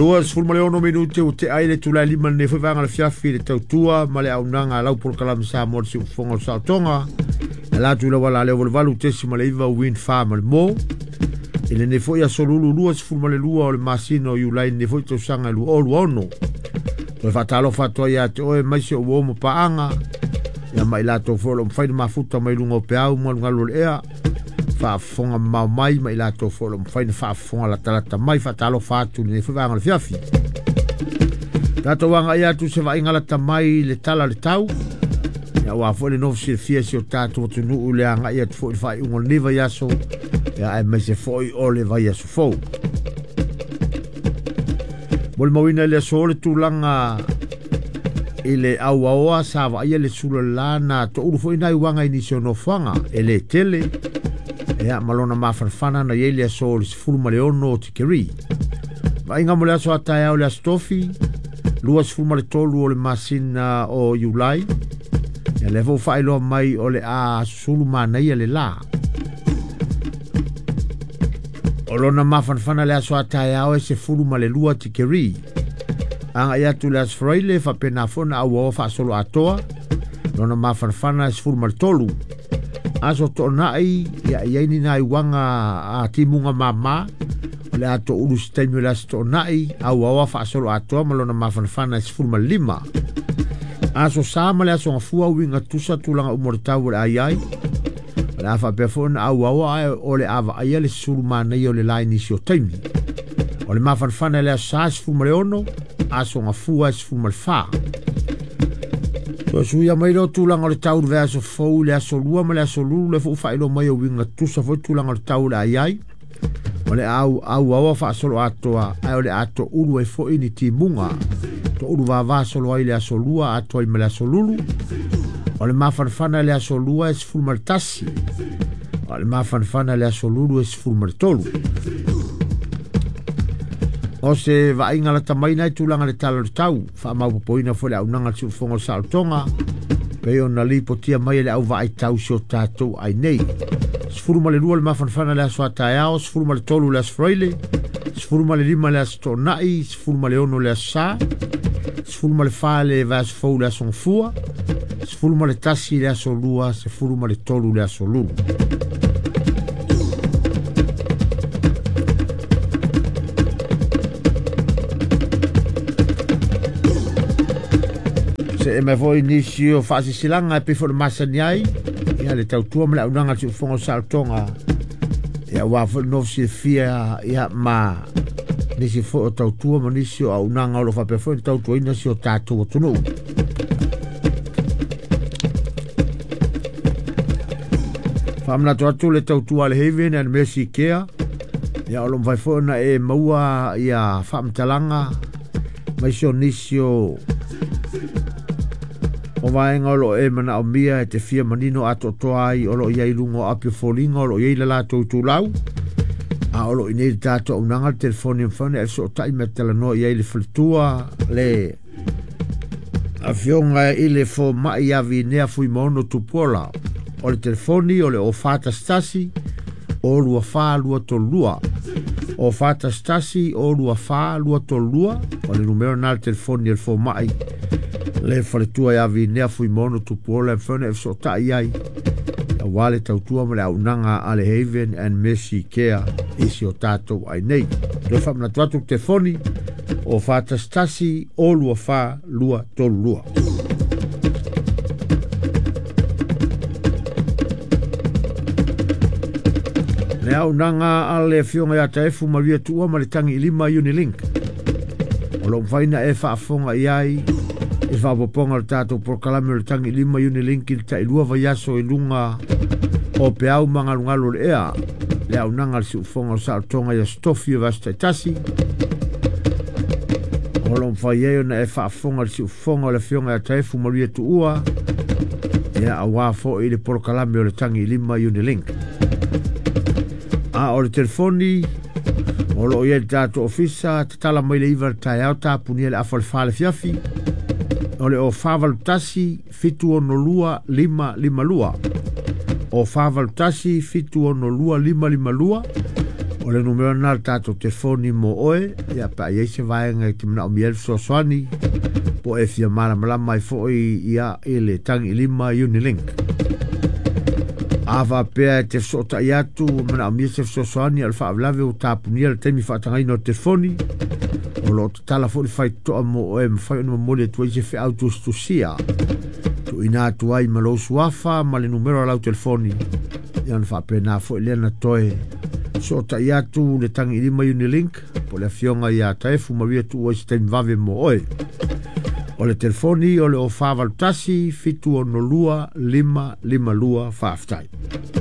26 minute ua tea ai le itula e 5 i lenei foi vaega o le afiafi i le tautua ma le auaunaga a lau polokalame Samoa i le siufofoga o le saotoga. E ala atu i le auala leo 88.9 Wind Farm ma le Mo. I lenei foi aso Lulu 22 o le masina o Iulai i lenei foi tausaga e 2026. Toe faatalofa atu ai ia te oe aemaise o uo ma paaga ia ma i latou foi o lo o mafai ona mafuta mai luga o peau ma galugalu o le ea faafofoga mamao mai ma i latou foi o lo o mafai ona faafofoga latalata mai. Faatalofa atu i lenei foi vaega o le afiafi. Tatou agai atu se vaaiga lata mai i le tala o le tau. Ia aua foi le nofo silafia si o tatou atunuu i le agai atu foi i le faaiuga o lenei vaiaso, ia aemaise foi o le vaiaso fou. Molimauina i le aso le tulaga i le auaoa sa vaaia le sula le la na toulu foi nai uaga i nisi o nofoaga e le tele ia ma lona mafanafana na i ai le aso o le 16 o tikeri. Vaaiga mo le aso a taeao le aso Tofi 23 o le masina o Iulai. Ia lea foi ua faailoa mai o le a susulu manaia le la. O lona mafanafana le aso a taeao e 12 tikeri. Agai atu le aso Faraile faapena foi ona auaoa faasolo atoa. Lona mafanafana e 13. Aso Toonai ia i ai ni nai uaga a timuga mama. O le a toulu se taimi o le aso Toonai, auaoa faasolo atoa ma lona mafanafana e 15. Aso Sa ma le aso Gafua uiga tusa tulaga uma o le tau o le a i ai. O le a faapea foi ona auaoa ae o le a vaaia le susulu manaia o le la i nisi o taimi. O le mafanafana i le aso Sa e 16, aso Gafua e 14. Toe suia mai lea o tulaga o le tau i le vaiaso fou i le aso Lua ma le aso Lulu, lea foi ua faailoa mai o uiga tusa foi tulaga o le tau o le a i ai. O le a auaoa faasolo atoa ae o le a toulu ai foi ni timuga. Toulu vava solo ai le aso Lua atoa ai ma le aso Lulu. O le mafanafana i le aso Lua e 11. O le mafanafana i le aso Lulu e 13. O se vaaiga lata mai nai tulaga i le tala o le tau, faamaopoopoina foi le auaunaga a le siufofoga o le saolotoga, pei ona lipotia mai e le au vaai tau si o tatou ai nei. 12 le mafanafana i le aso a taeao, 13 le aso Faraile, 15 le aso Toonai, 16 le aso Sa, 14 le vaiaso fou le aso Gafua, 11 le aso Lua, 13 le aso Lulu. See mai foi nisi o faasisilaga e pei foi ona masani ai ia le tautua ma le auaunaga a le siufofoga o le saolotoga ia aua foi le nofo silafia ia ma nisi foi o tautua ma nisi o auaunaga o lo o faapea foi ona tautuaina si o tatou atunuu. Faamanatu atu le tautua a le Haven and Mercy Care ia o lo o mafai foi ona e maua ia faamatalaga maise o nisi o vaega o lo o e manaomia e te fia manino atoatoa ai o lo o i ai i luga o api o foliga o lo o i ai le latou itulau a o lo o i inei le tatou auaunaga le telefoni e mafai ona e fesootai ma e talanoa i ai le faletua le afioga i le fomai ia Vinea Fuimaono Tupuola. O le telefoni o le 0411 024 232. 0411 024 232 o le numera lena o le telefoni o le fomai le faletua ia Vinea Fuimaono Tupuola e mafai ona e fesootai ai aua le tautua ma le auaunaga a le Haven and Mercy Care i si o tatou ai nei. Toe faamanatu atu le telefoni o 411 024 232. Le auaunaga a le afioga ia Taefu Maria Tuua ma le tagi i lima Unilink. O lo o mafai ona e faafofoga i ai i le faaopoopoga o le tatou polokalame o le tagi i lima Unilink i le tailua vaiaso i luga o peau ma galugalu o le ea. Le auaunaga a le siufofoga o le saolotoga i aso Tofi o vaiaso taitasi. O lo o mafai ai ona e faafofoga i le siufofoga o le afioga ia Taefu Maria Tuua ia aua foi le polokalame o le tagi i lima Unilink. A o le telefoni o lo o i ai le tatou ofisa, tatala mai le 9 i le taeao, tapunia le afa o le 4 i le afiafi. O le 0481 762 552. 0481 762 552. O O le numera lena o le tatou telefoni mo oe, ia pe a i ai se vaega e te manaomia ai le fesoasoani, po o e fia malamalama ai foi ia i le Tagiilima Unilink. A faapea e te fesootai atu ua manaomia se fesoasoani, a o le faalavelave ua tapunia le taimi faatagaina o le telefoni, o lo o tatala foi le faitotoa mo oe e mafai ona momoli atu ai se feau tusitusia tuuina atu ai ma lou suafa ma le numera o lau telefoni, ia ona faapena foi lea na toe sootai atu le Tagiilima Unilink po o le afioga ia Taefu Maria Tuua i se taimi vave mo oe. O le telefoni o le 0481 762 552. Faafetai.